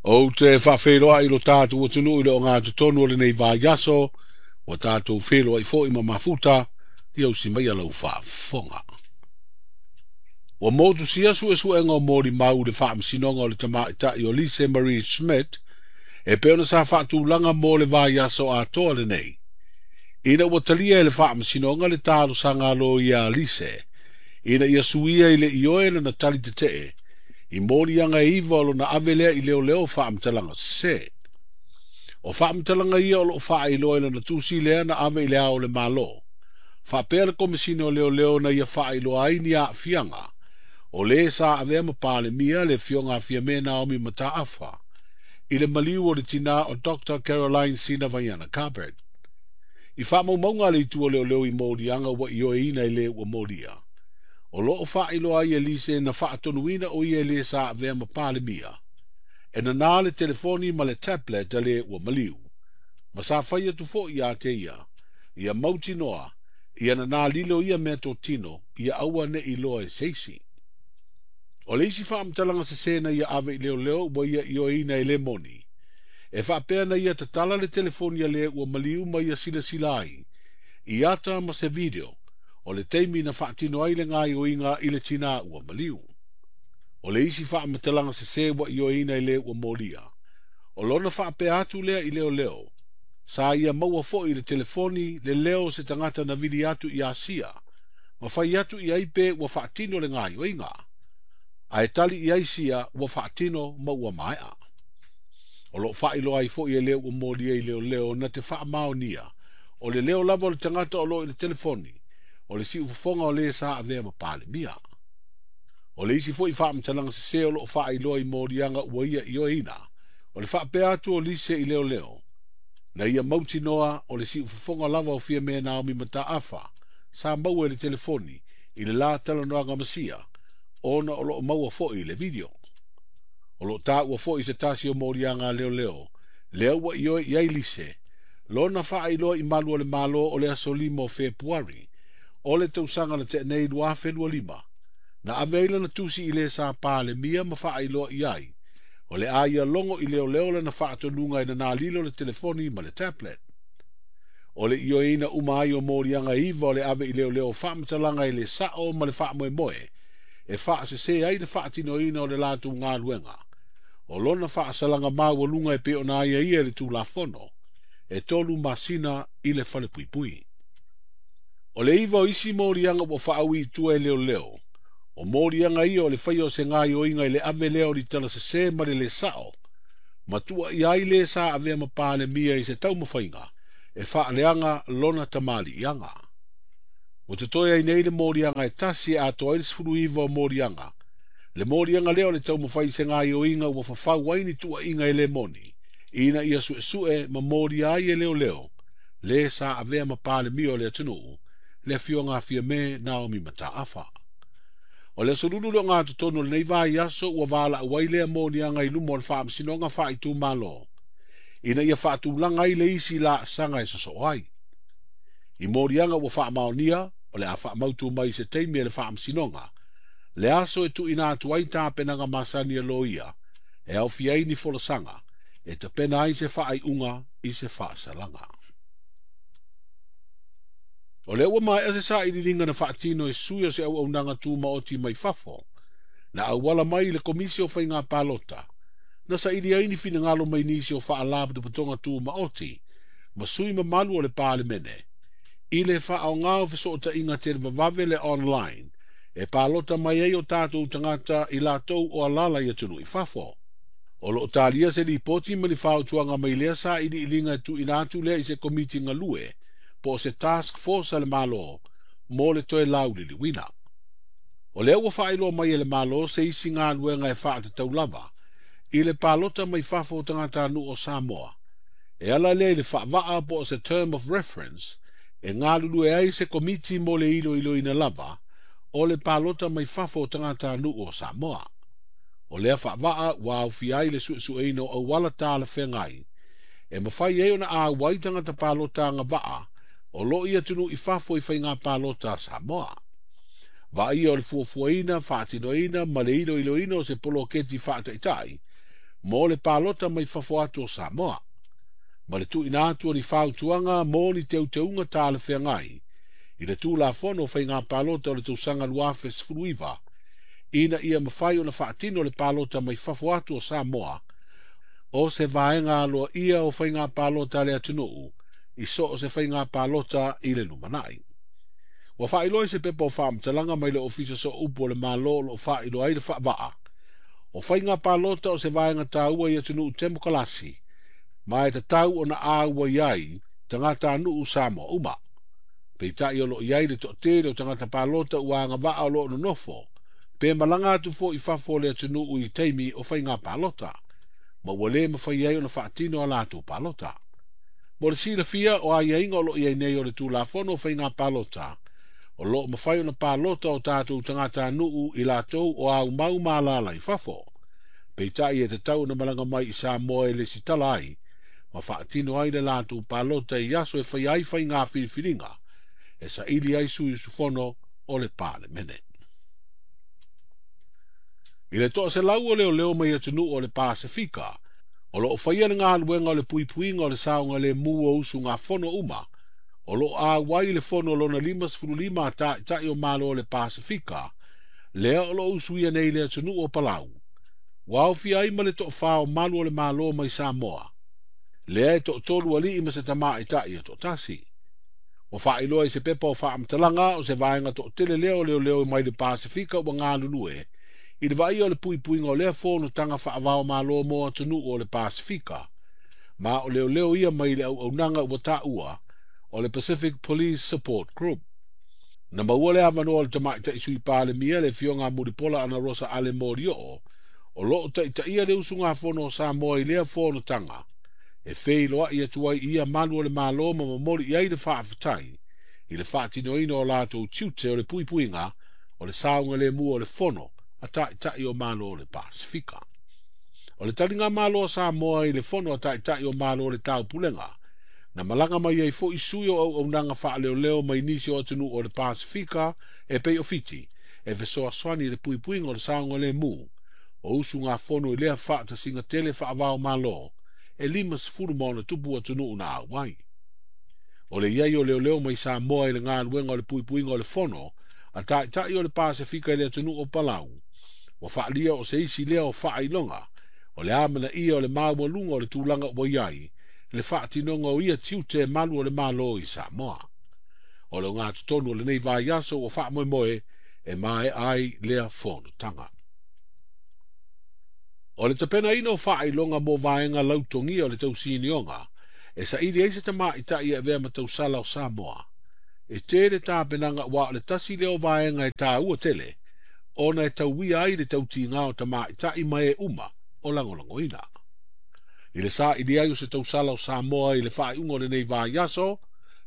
Ou te faafeiloai i lo tatou atunuu i le ogatotonu o lenei vaiaso, ua tatou feiloai foi ma mafuta, ia usi mai lau faafofoga. Ua motusia suesuega o molimau i le faamasinoga o le tamaitai o Lise Marie Schmidt, e pei ona sa faatulaga mo le vaiaso atoa lenei. Ina ua talia e le faamasinoga le talosaga a loia a Lise, ina ia suia i le ioe lana tali tetee, i moliaga e 9 o lona ave lea i leoleo faamatalaga sese. O faamatalaga ia o loo faailoa i lana tusi lea na ave i le ao o le Malo. Faapea le Komesina o Leoleo na ia faailoa ai ni aafiaga o le sa avea ma Palemia le afioga a Fiame Naomi Mataafa i le maliu o le tinā o Dr. Caroline Sina Vaiana Carbert. I faamaumauga a le itu o leoleo i moliaga ua ioeina i le ua molia. O loo faailoa ai e Lise na faatonuina o ia e le sa avea ma Palemia. E nanā le telefoni ma le tablet a le ua maliu. Ma sa fai atu foi ia te ia, ia mautinoa, ia nanā lilo ia mea totino, ia aua ne i loa e seisi. O le isi faamatalaga sese na ia ave i leoleo ua ia ioeina e le moni. E faapea na ia tatala le telefoni a le ua maliu ma ia silasila ai, i ata ma se video, o le taimi na faatino ai le gaoioiga i le tinā ua maliu. O le isi faamatalaga sese ua ioeina i le ua molia. O lona faapea atu lea i leoleo, sa ia maua foi i le telefoni le leo o se tagata na vili atu i Asia, ma fai atu i ai pe ua faatino le gaoioiga. Ae tali i ai sia ua faatino ma ua maea. O loo faailoa ai foi e le ua molia i leoleo na te faamaonia, o le leo lava o le tagata o loo i le telefoni, o le siufofoga o le sa avea ma Palemia. O le isi foi faamatalaga sese o loo faailoa i moliaga ua ia ioeina, o le faapea atu o Lise i leoleo, na ia mautinoa o le siufofoga lava o Fiame Naomi Mataafa, sa maua i le telefoni i le la talanoaga ma sia, ona o loo maua foi i le video. O loo taua foi se tasi o moliaga a leoleo, lea ua ioe i ai Lise, lona faailoa i malu o le Malo o le aso 5 o Fepuari, o le tausaga na tea nei 2025, na ave ai lana tusi i le sa Palemia ma faailoa i ai, o le a ia logo i leoleo lana faatonuga e nanā lilo le telefoni ma le tablet. O le ioeina uma ai o moliaga 9 o le ave i leoleo faamatalaga i le sao ma le faamoemoe, e faasese ai le faatinoina o le latou galuega. O lona faasalaga maualuga e pei ona aiaia i le Tulafono, e 3 masina i le falepuipui. O le 9 o isi moliaga ua faaui i tua e leoleo, o moliaga ia o le faia o se gaoioiga i le ave lea o litala sese ma le le sao, ma tuuaia ai le sa avea ma Palemia i se taumafaiga, e faaleaga lona tamaliiaga. Ua totoe ai nei le moliaga e tasi e atoa ai le 19 o moliaga. Le moliaga lea o le taumafai i se gaoioiga ua fafau ai ni tuuaiga e le moni, ina ia suesue ma molia ai e leoleo, le sa avea ma Palemia o le atunuu, le afioga a Fiame Naomi Mataafa. O le aso lulu le ogatotonu o lenei vaiaso ua valaau ai lea moliaga i luma o le faamasinoga faaitumalo, ina ia faatulaga ai le isi laasaga e sosoo ai. I moliaga ua faamaonia, o le a faamautu mai se taimi e le faamasinoga, le aso e tuuina atu ai tapenaga masani a loia, e aofia ai ni folasaga, e tapena ai se faaiuga i se faasalaga. O lea ua maea se sailiiliga na faatino e sui o se auaunaga tumaoti mai fafo, na auala mai i le Komisi o Faiga Palota, na saili ai ni finagalo mai nisi o faalapotopotoga tumaoti, ma sui mamalu o le Palemene, i le faaaoga o fesootaiga televavave le online, e palota mai ai o tatou tagata i latou o alala i atunuu i fafo. O loo talia se lipoti ma ni fautuaga mai lea sailiiliga e tuuina atu lea i se komiti galue, po o se task force a le Malo, mo le toe lauliliuina. O lea ua faailoa mai e le Malo se isi galuega e faatatau lava, i le palota mai fafo o tagatanuu o Samoa. E ala lea i le faavaa po o se term of reference, e galulue ai se komiti mo le iloiloina lava, o le palota mai fafo o tagatanuu o Samoa. O lea faavaa ua aofia ai le suesueina o auala talafeagai, e mafai ai ona auai tagata palota agavaa, o loo i atunuu i fafo i faiga palota a Samoa. Vaaia o le fuafuaina, faatinoina ma le iloiloina o se poloketi faataitai, mo le palota mai fafo atu o Samoa. Ma le tuuina atu o ni fautuaga mo ni teuteuga talafeagai i le Tulafono o Faiga Palota o le tausaga 2019, ina ia mafai ona faatino le palota mai fafo atu o Samoa o se vaega aloaia o faiga palota a le atunuu i so o se faiga palota i le lumanai. Ua faailoa i se pepa o faamatalaga mai le Ofisa Sooupu o le Malo o loo faailoa ai le faavaa. O faiga palota o se vaega taua i atunuu temokalasi, ma e tatau ona auai ai tagatanuu Samoa uma. Peitai o loo i ai le toatele o tagata palota ua agavaa o loo nonofo, pe malaga atu foi i fafo o le atunuu i taimi o faiga palota, ma ua le mafai ai ona faatino a latou palota. Mo le silafia o aiaiga o loo i ai nei o le Tulafono o Faiga Palota, o loo mafai ona palota o tatou tagatanuu i latou o aumau ma alaala i fafo. Peitai e tatau ona malaga mai i Samoa e lesitala ai, ma faatino ai le latou palota i aso e faia ai faiga filifiliga, e saili ai sui usufono o le Palemene. I le 100 o leoleo mai atunuu o le Pasefika, o loo faia le galuega o le puipuiga o le saogalemu o usugafono uma, o loo auai le fono lona 55 a taitai o Malo o le Pasefika, lea o loo usuia nei le atunuu o Palau. Ua aofia ai ma le toafā o malu o le Malo mai Samoa, lea e toatolu alii ma se tamaitai e toatasi. Ua faailoa i se pepa o faamatalaga o se vaega toatele lea o leoleo mai le Pasefika ua galulue, i le vaaia o le puipuiga o lea fonotaga faavao malo mo atunuu o le Pasefika, ma o leoleo ia mai le auaunaga ua taua o le Pacific Police Support Group. Na maua le avanoa o le tamaitai sui Palemia le afioga Mulipola Ana Rosa Ale Molioo, o loo taitaia le usugafono o Samoa i lea fonotaga, e feiloai atu ai ia malu o le Malo ma momoli i ai le faafetai i le faatinoina o latou tiute o le puipuiga o le saogalemu o le fono a taitai o Malo o le Pasefika. O le taliga malo a Samoa i le fono a taitai o Malo o le Taupulega, na malaga mai ai foi sui o auaunaga faaleoleo mai nisi o atunuu o le Pasefika e pei o Fiti, e fesoasoani i le puipuiga o le saogalemu o usugafono i lea faatasiga tele faavao malo e 50 ma ona tupu atunuu na auai. O le iai o leoleo mai Samoa i le galuega o le puipuiga o le fono a taitai o le Pasefika i le atunuu o Palau, ua faalia o se isi lea o faailoga o le amanaia o le maualuga o le tulaga ua i ai le faatinoga o ia tiute malu o le Malo i Samoa. O le ogatotonu o lenei vaiaso ua faamoemoe e maea ai lea fonotaga. O le tapenaina o faailoga mo vaega lautogia o le tausinioga, e saili ai se tamaitai e avea ma tausala o Samoa. E tele tapenaga ua o le tasi lea o vaega e taua tele, ona e tauia ai le tautiga o tamaitai ma e uma o lagolagoina. I le saili ai o se tausala o Samoa i le faaiuga o lenei vaiaso,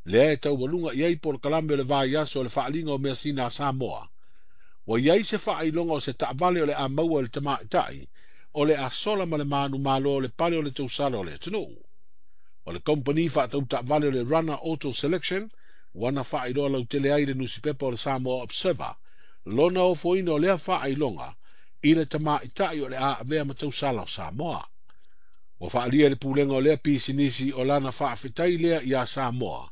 lea e taualuga i ai polokalame o le vaiaso o le faaliga o measina a Samoa. Ua i ai se faailoga o se taavale o le a maua i le tamaitai, o le a sola ma le manumalo o le pale o le tausala o le atunuu. O le kompani faatau taavale o le Runner Auto Selection, ua na faailoa lautele ai le nusipepa o le Samoa Observer, lona ofoina o lea faailoga i le tamaitai o le a avea ma tausala o Samoa. Ua faalia le pulega o lea pisinisi o lana faafetai lea ia Samoa,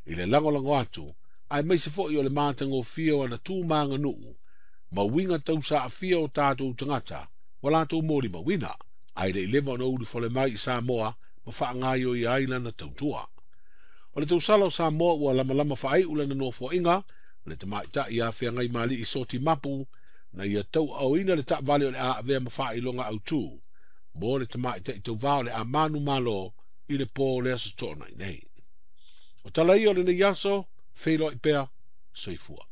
i le lagolago atu, aemaise foi o le matagofie o ana tu maganuu, ma uiga tausaafia o tatou tagata, ua latou molimauina, ae le i leva ona ulufale mai i Samoa ma faagaioia ai lana tautua. O le tausala o Samoa ua lamalama faaiu lana nofoaiga, le tamaitai ia Feagaimali'i Soti Mapu, na ia tauaaoina le taavale o le a avea ma faailoga autu, mo le tamaitai tauvā o le a manumalo i le po o le aso Toonai nei. O tala ia o lenei aso, feiloai pea, soifua.